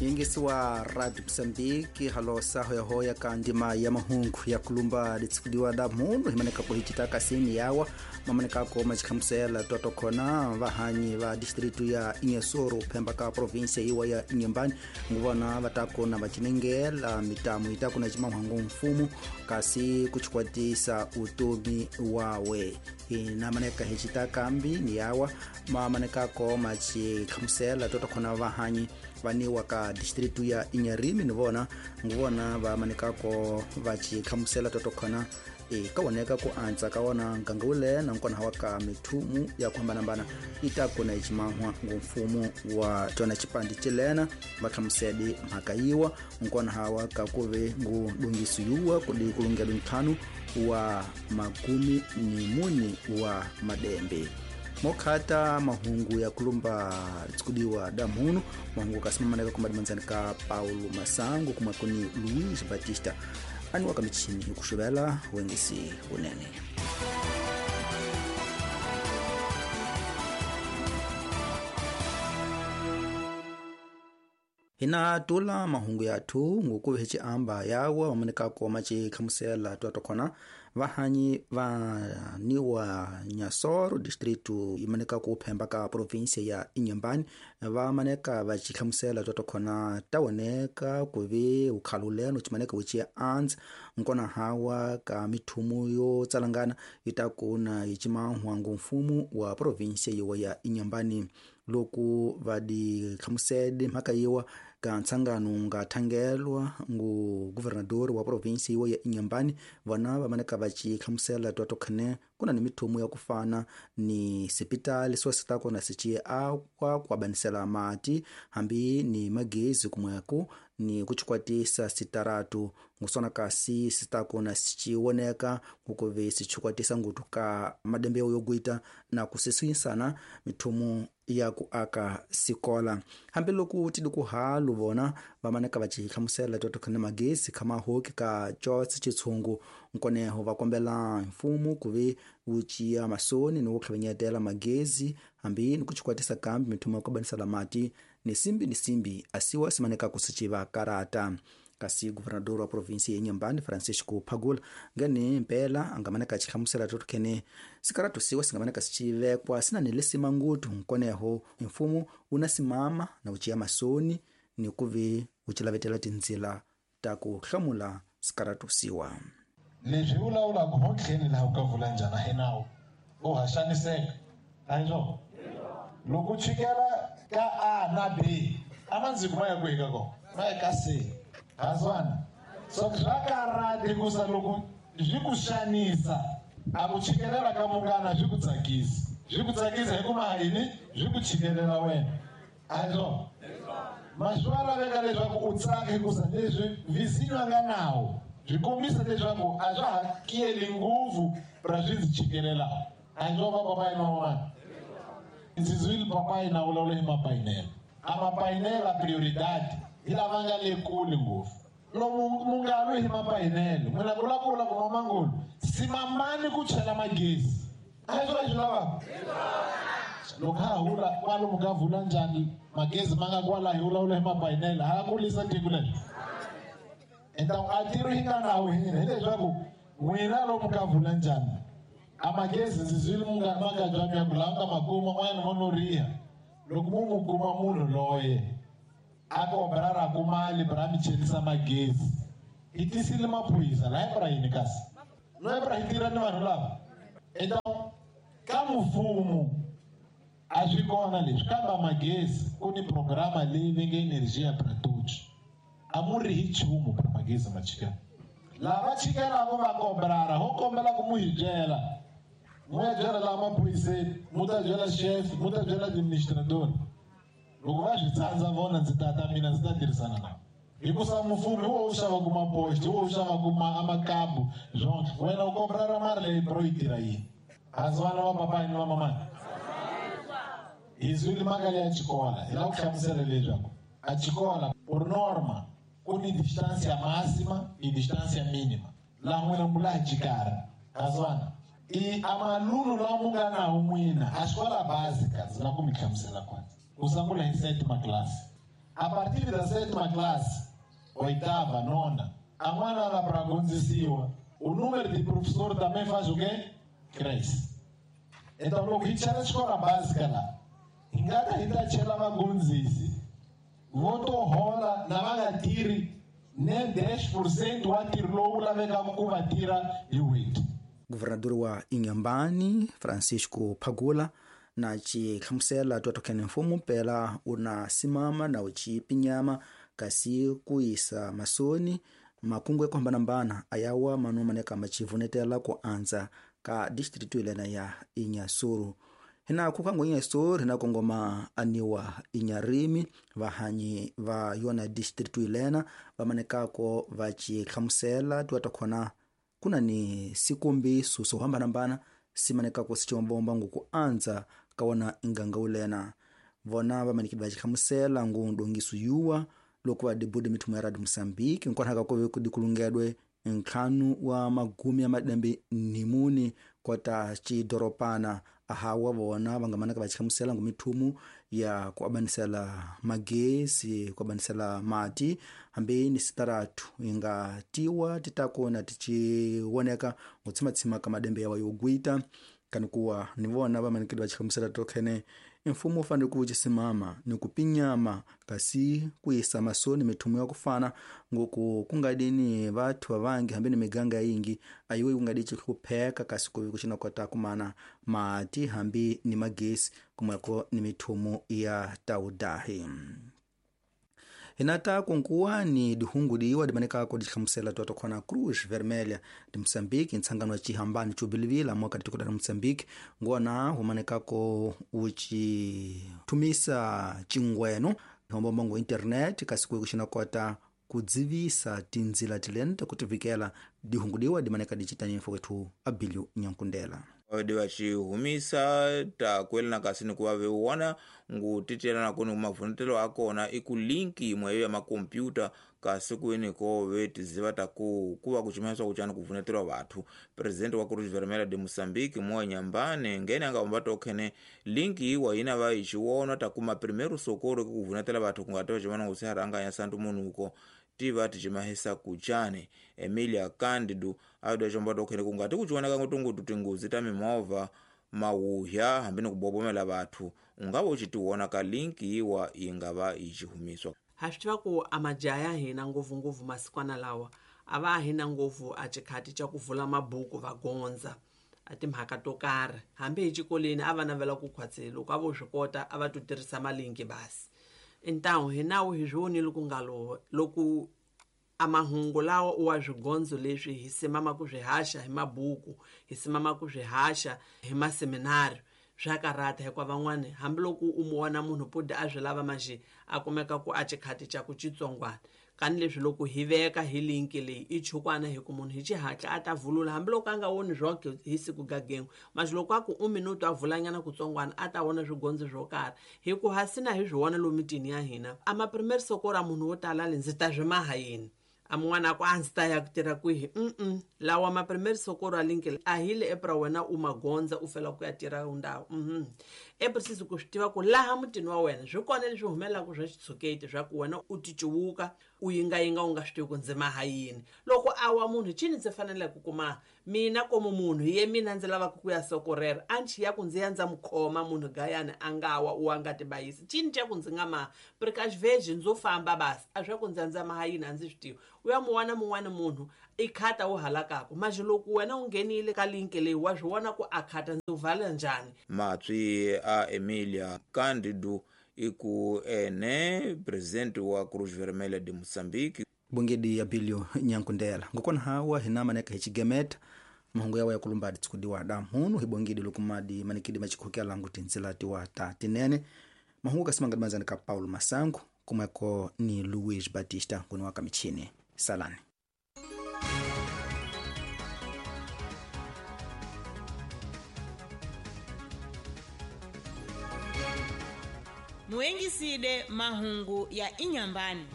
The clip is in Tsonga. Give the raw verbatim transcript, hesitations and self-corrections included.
Yingisiwa Radio Mozambique halosa hoyahoya ka ndima ya mahungu ya kulumba litsikudiwa da munhu himaneka ko hichitaka sini yawa mamaneka ko machikhamusela toto khona vahanyi va distritu ya Inhassoro phemba ka province iwa ya Inhambane nguvona vatakona vachinengela mitamu itakuna chimahwangu mfumo kasi kuchikwatisa utomi wawe inamaneka hichitaka mbi ni yawa mamaneka ko machikhamusela toto khona vahanyi vaniwa ka distritu ya Inharime nivona nguvona vamanekako vachikhamusela toto khona e kawoneka ku antsa kawona nkangule na nkona hawa ka mithumu ya kuhambanambana itakona ichimahwa ngumfumo wa tona chipandi chilena vakhamusedi mhaka yiwa nkona hawa kakuve ngu dungisu yuwa kudi kulungela nthanu wa makumi ni muni wa madembe mokhata mahungu ya kulumba tsikudiwa damuno mahungu kasimamaneka kumadimanzani ka Paulo Masango kumakuni Luis Batista aniwa kamichini kushuvela wengisi unene. Hina tula mahungu yathu ngukuve hichi amba yawa mamaneka koma chikhamusela twatokhona vahanyi va niwa Inhassoro distritu imaneka ku phemba ka province ya Inhambane vamaneka vachikhamusela twatokhona tawoneka kuve ukhaluleno chimaneka uchiya antsa nkona hawa ka mithumu yo tsalangana itakuna ichimahwangu mfumo wa province yiwa ya Inhambane loku vadikhamusede mhaka yiwa ka ntsangano nga thangelwa ngu governador wa province yiwa ya Inhambane vona vamaneka vachikhamusela twatokhane kuna ni mithumu ya kufana ni sipitali swasitako na sichiye akwa kuabanisela mati hambi ni magezi kumweku ni kuchikwatisa sitaratu ngusona kasi sitako na sichiwoneka ngukuve sichikwatisa ngutu ka madembeo yogwita na kusiswisana mithumu ya kuaka sikola hambi loku tidi kuhalu vona vamaneka vachikhamusela twatokhane magezi khama hoki ka chotse chitshungu nkoneho vakombela mfumo kuve wuciya masoni ni wukhavenyetela magezi hambi ni kuchikwatisa kambi mithumu ya kubanisela mati ni simbi ni simbi asiwa simaneka kusichiva karata kasi governador wa province ya Inhambane Francisco Pagula ngene mpela angamaneka chikhamusela totokhene sikaratu siwa singamaneka sichivekwa sina nilisima ngutu nkoneho mfumo unasimama na uchiya masoni ni kuve uchilavetela tindzila ta ku hlamula sikaratu siwa leswi vulavulaka ho tlheni laha u ka vula njhani a hi nawu u ha xaniseka a hi swona loko chikela ka A na B a mandziko ma ya kwihi ka kona ma ya ka C haswana so swa karata hikusa loko swi ku xanisa a ku chikelela ka munghana swi ku tsakisa swi ku tsakisa hikuva yini swi ku chikelela wena a hi swona ma swi laveka leswaku u tsaka hikusa leswi vizinyo a nga nawo swi kombisa leswaku a swa ha kiyeli ngopfu ra swi ndzi chikelelaka a hi swona papayi na van'wana ndzi zwile papayi na vulavula hi mapainela a mapainela prioridade hi lava nga le kule ngopfu lomu mungalwi hi mapainelo n'wina ku vulavula ku mamangulu simamani ku chela magezi a hi swona swi lavaka loko ha hula kwalomu ka vula njhani magezi ma nga kwala hi vulavula hi mapainelo ha kulisa tiko leri então a tiro hi nga nawu hina hileswaku n'wina lomu ka vula njhani a magezi ndzi zwile makabya ya ku laha nga makuma n'wana mo no riha loko mu mu kuma munhu loye a kombela ra ku mali bra mi chelisa magezi hi tisile maphorisa laha bra yini kasi loyi bra hi tirha ni vanhu lava então ka mfumo a swi kona leswi kambe magezi ku ni programa leyi va nge Energia para Todos a mu ri hi nchumu bra magezi ma chikela lava chikelaka va kombelana ho kombela ku mu hi byela mu ya byela laha maphoriseni mu ta byela chef mu ta byela administrador loko va swi tsandza vona ndzi tata mina ndzi ta tirhisana na hikusa mufumi wo u xavaku mapoxi wo u xavaku amakabu swona wena u kombela ra mali leyi bro yi tirha yini hansi vana va papayi ni va mamani hi zwile mhaka leya xikola hi lava ku hlamusela leswaku a xikola por norma ku ni distância máxima e distância mínima laha n'wina mu laha xikarhi hansi i amalulu lawa mu nga nawo n'wina a xikola básica ndzi lava ku mi hlamusela kwanza ku sungula hi sétima classe A partir da sétima classe, oitava, nona, a mwana lá para gonzisiwa, o número de professor também faz o quê? Cresce. Então, loko hi chela xikola básica la, hi nga ta hi ta chela vagondzisi vo to hola na va nga tirhi ne dez por cento wa ntirho lowu lavekaka ku va tirha hi n'hweti. Governador wa Inhambane, Francisco Pagula, na chihlamusela twatokhene mfumo pela una simama na uchipinyama kasi kuisa masoni makungu ya kuhambanambana ayawa manu maneka machivunetela ku anza ka distritu ilena ya Inhassoro. Hina kukango Inhassoro hina kongoma aniwa Inharime vahanyi va yona distritu ilena vamanekako vachihlamusela twatokhona kuna ni sikombiso swo hambanambana simanekako sichiwombomba nguku anza kawana nganga ulena vona vamanikidi vachihlamusela ngu ndongiso yuwa loko va dibudi mithumu ya Radio Moçambique nkonhaka kove kudikulungedwe ntlhanu wa magumi ya madembe nimuni kota chidoropana ahawa vona vangamanaka vachihlamusela ngu mithumu ya kuabanisela magesi kuabanisela mati hambi ni sitaratu inga tiwa titakona tichiwoneka ngutsimatsima ka madembe yawa yogwita kanikuwa ni vona vamanikidi vachihlamusela tokhene mfumo u fanele ku chisimama ni kupinyama kasi kuisa masoni mithumu ya kufana ngoku kungadini vathu vavangi hambi ni miganga yingi ayiwe kungadi chihlupheka kasi kuvi kuxinakota kumana mati hambi ni magesi kumweko ni mithumu ya taudahi. Hinata kunkuwani dihungu diwa dimanekako dihlamusela twatokhona Cruz Vermelha de Moçambique ntsangano wa chihambani chubilivila mwaka ditikota la Moçambique ngona humanekako uchithumisa chingweno hombombango internet kasi kuyi kuxinakota kudzivisa tindzila tilene takutivikela dihungu diwa dimaneka dicitanyifo kwethu Abilio Nyankundela. Divachihumisa takwelana kasi ni kuva vewona ngu titelana kuni kumavhunetelo akona i ku linki imwe ya makompyuta kasi kwini ko ve tiziva taku kuva kuchimanyiswa kuchani kuvunetelwa vathu. Presidente wa Cruz Vermelha de Moçambique Moa Nyambane ngene anga omba tokhene linki iwa ina va ichiwona takuma primeiro socorro kuvunetela vathu kungateva chimana ngusiharanganya santu munhuko tiva tichimahisa kuchane. Emilia Candido aida chomba tokhene kungati kuchioneka ngutungutu tingozi ta mimovha mawuhya hambi ni kubobomela vathu ungava uchitiwona ka linki iwa ingava ichihumiswa. Ha swi tiva ku a majaha ya hina ngopfungopfu masikwana lawa a va hina ngopfu a xikhati xa ku vula mabuku va gondza a timhaka to karhi hambi hi xikolweni a va navela ku khwatsela loko a vo swi kota a va to tirhisa malinki basi. Então hi nawu hi swi vonile ku nga lo loko a mahungu lawa u wa swigondzo leswi hi simama ku swi haxa hi mabuku hi simama ku swi haxa hi maseminari swa karata hikuva van'wani hambiloko u mu vona munhu pudi a swi lava manjhe a kumeka ku a xikhati xa ku xitsongwana kani leswi loko hi veka hi linki leyi i chukwana hi ku munhu hi xihatla a ta vulula hambiloko a nga voni swoke hi siku gagengu manjhe loko a ku u minuto a vulanyana kutsongwana a ta vona swigondzo swo karhi hi ku hasina hi swi vona lomu mitini ya hina a maprimary sokora munhu wo tala le ndzi ta swi maha yini a mun'wana a ku a ndzi ta ya ku tirha kwihi mm lawa maprimary sokoro a linki a hi le epra wena u magondza u fela ku ya tirha ndhawu mhm e preciso ku swi tiva ku laha mutini wa wena swi kona leswi humelelaka swa xitshuketi swa ku wena u ticuwuka u yingayinga u nga swi tivi ku ndzi maha yini loko a wa munhu cini ndzi faneleke ku kuma mina komu munhu hi ye mina ndzi lavaka ku ya sokorera a nchi ya ku ndzi ya ndza mu khoma munhu gayani a nga wa u wa nga tibayisi cini xa ku ndzi nga maha precaution ndzo famba basi a swa ku ndzi ya ndza maha yini a ndzi swi tivi u ya mu wana mun'wani munhu i khata wu halakaka manjhe loko wena u nghenile ka linki leyi wa swi vona ku a khata ndzi vala njhani. Matswi a Emilia Candido iku ene presidente wa Cruz Vermelha de Moçambique bongedi ya Bilio Nyankundela ngokona hawa hina maneka hi xigemeta mahungu yawa ya kulumbadi tsikudiwa da mhunu hi bongedi loko madi manikidi machikhokela ngu tindzila tiwa ta tinene mahungu kasimangadi ka Paulo Masango kumweko ni Luis Batista nguni wa kamichini salani. Muengiside mahungu ya Inhambane.